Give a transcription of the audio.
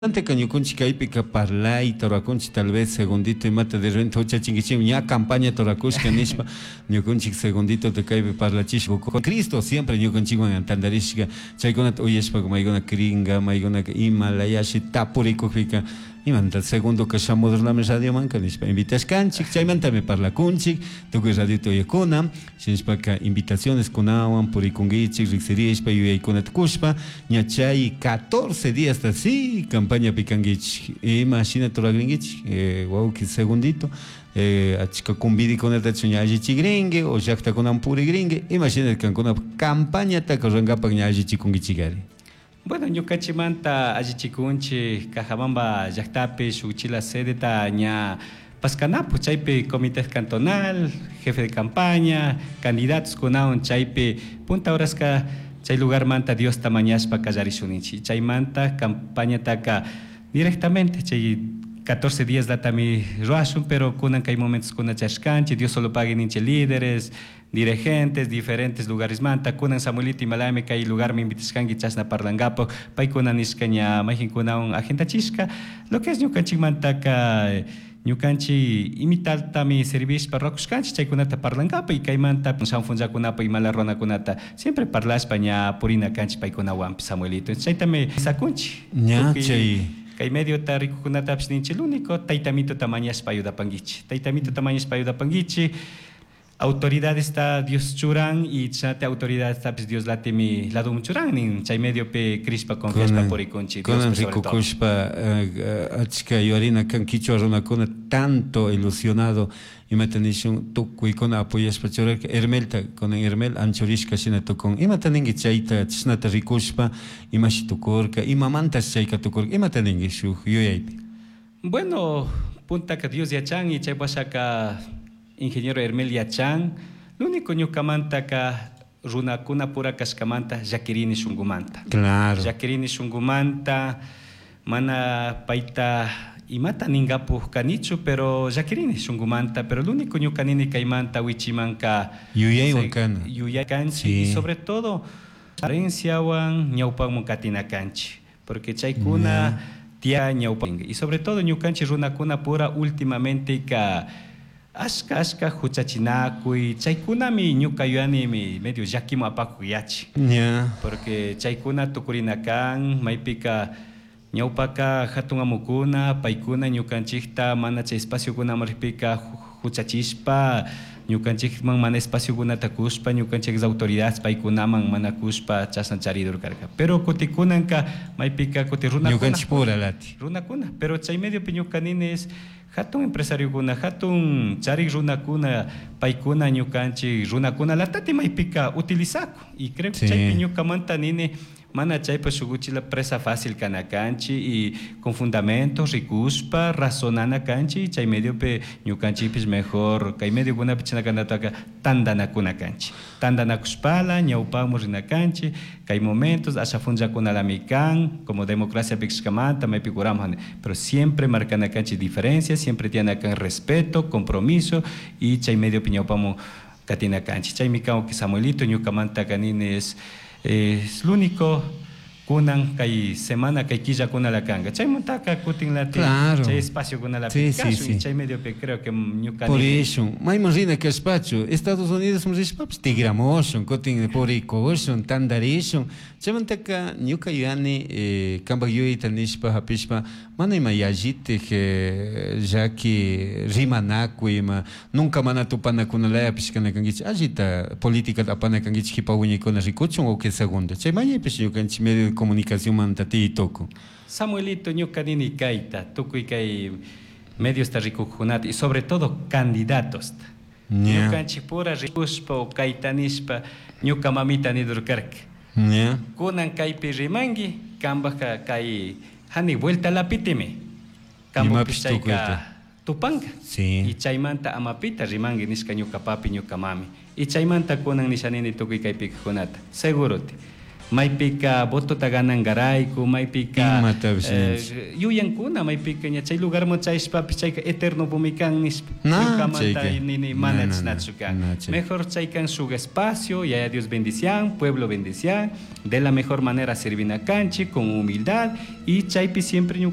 Anteka ñukunchik kaypika parlayta rurakunchik tal vez segundito imata de repente huchachinkichik ña campaña rurakushka nishpa ñukunchik segundito kaypi parlachishpa Cristo siempre ñukunchikwan tantarishka chaykunata uyashpa maykuna cringa maykunaka ima layashi tapurikukpika imanta segundo ka shamudurnami radiomanka nishpa invitashkanchik chaymantami parlakunchik tukuy radiota uyakuna shinashpaka invitaciones kunawan purikunkichik riksirishpa yuyaykunata kushpa ña chay 14 días ta sí campañapi kankichik ima shina turagrinkichik wawki segundito achka convidikunatachu ña allichikrinki o llaktakunaman purikrinki ima shina kankuna campañataka rurankapak ña allichikunkichikari. Bueno, ñukanchikmanta allichikunchik Cajabamba llaktapi shuk chila sedeta ña paskanapu chaypi comité cantonal, jefe de campaña, candidatos kunawan chaypi punta horaska chay lugarmanta Diosta mañashpa kallarishunchik chaymanta campañataka directamente chay 14 días latami ruashun, pero kunan kay momentos kuna chashkanchik Dios solo pague ninchik líderes, dirigentes, diferentes lugares manta kunan Samuelito imalami kay lugar me invitashkanki chashna parlangapak paykuna nishka ña mayjinkunawan agendachishka lo que es ñukanchikmantaka ñukanchik imitaltami servishpa rurakushkanchik chaykunata parlangapak y kaymanta shampunllakunapa imala runakunata siempre parlashpa ña purina kanchik paykunawanpish Samuelito chaytami sakunchik ña chay kay mediota rikukunatapish ninchik lo único taytamituta mañashpa ayudapankichik taytamituta mañashpa ayudapankichik autoridades ta Dios churan y chate autoridades tapis Dios latimi ladum churan nin chay mediopi crishpa confiashpa purikunchik kunan rikukushpa achka yuyarina kan kichwa runakuna tanto ilusionado imata nishun tukuykuna apoyashpa churarka Hermelta kunan Hermel anchurishka shina tukun imata ninki chayta chashnata rikushpa imashi tukurka imamantash chayka tukurka imata ninki shuk yuyaypi. Bueno, puntaka Dios yachan y chay washaka ingeniero Hermel yachan, lo único ñukamantaka runakuna pura kashkamanta llakirini shunkumanta. Claro. Llakirini shunkumanta mana payta imata ningapuj kanichu pero llakirini shunkumanta, pero lo único ñuka nini kaymanta wichimanka yuyaywan kana. Yuyay kanchik Sí. y sobre todo herenciawan ñawpaman katina kanchik porque chaykuna tia ñawpa y sobre todo ñukanchik runakuna pura últimamente ka ashka ashka huchachinakuy chaykunami ñuka yuyanimi medio llakiman apakuy yachi. Yeah. Porque chaykuna tukurina kan maypika ñawpaka hatun amukuna paykuna ñukanchikta mana chay espaciokunaman rikpika huchachishpa ñukanchikman mana espaciokunata kushpa ñukanchik autoridades paykunaman mana kushpa chashna charidur karka pero kutikunanka maypika kuti runakuna ñukanchik pura lati runakuna pero chay mediopi ñuka nini es hatun empresariokuna hatun charik runakuna paykuna ñukanchik runakuna latati maypika utilizaku y creo que Sí. chaypi ñukamanta nini mana chaypa shuk uchila presa fácil kana kanchik y con fundamentos rikushpa razonana kanchik chay mediopi ñukanchikpish mejor kay mediokunapi chashna kanataka tantanakuna kanchik tantanakushpala ñawpamu rina kanchik kay momentos asha funllakunalami kan como democracia pikshkamanta maypi kuramun pero siempre marcana kanchik diferencias siempre tiene kan respeto compromiso y chay mediopi ñawpamu katina kanchik chaymi kan que Samuelito ñukamanta kanini es lo único kunan kay semana kay killakuna la kanka chaymantaka kutin lati Claro. chay espacio kuna la Sí, sí, caso sí. y chay mediopi creo que ñuka Por nini eso, mayman rina kashpachu Estados Unidos rishpapish tigramushun kutin purikushun tantarishun chaymantaka ñuka yuyani kanpak yuyayta nishpa hapishpa mana ima yallitik llaki rimanakuy ima nunca mana tupanakunalayapish kana kankichik allita políticata apana kankichik kipa wiñaykuna rikuchun o que segundo chay mañaypish ñukanchik medio de comunicación manta tiy tukun. Samuelito ñuka nini kayta tukuy kay mediosta rikuqkunata y sobre todo candidatos Yeah. ñukanchik pura rikushpa o kayta nishpa ñuka mamita nidurkarka Yeah. kunan kaypi rimanki kanpaka kay hani vuelta lapitimi kanpukpish Imapish chayka tukuyta. tupanka Sí. y chaymanta amapita rimanki nishka ñuka papi ñuka mami y chaymanta kunan nisha nini tukuy kaypi kaqkunata seguroti Maypika votota ganangarayku, maypika Imatapish eh, ninchik. yuyankuna maypika ña chay lugarman chayashpapish chayka eternopumi kan nishpa. Na, Ñukamanta chayka. nini Na, mana na, na. chashnachu kan. Na, chayka. Mejor chay kan shuk espacio, yaya Dios bendician, pueblo bendician, de la mejor manera servina kanchik con humildad y chaypi siempre ñuka.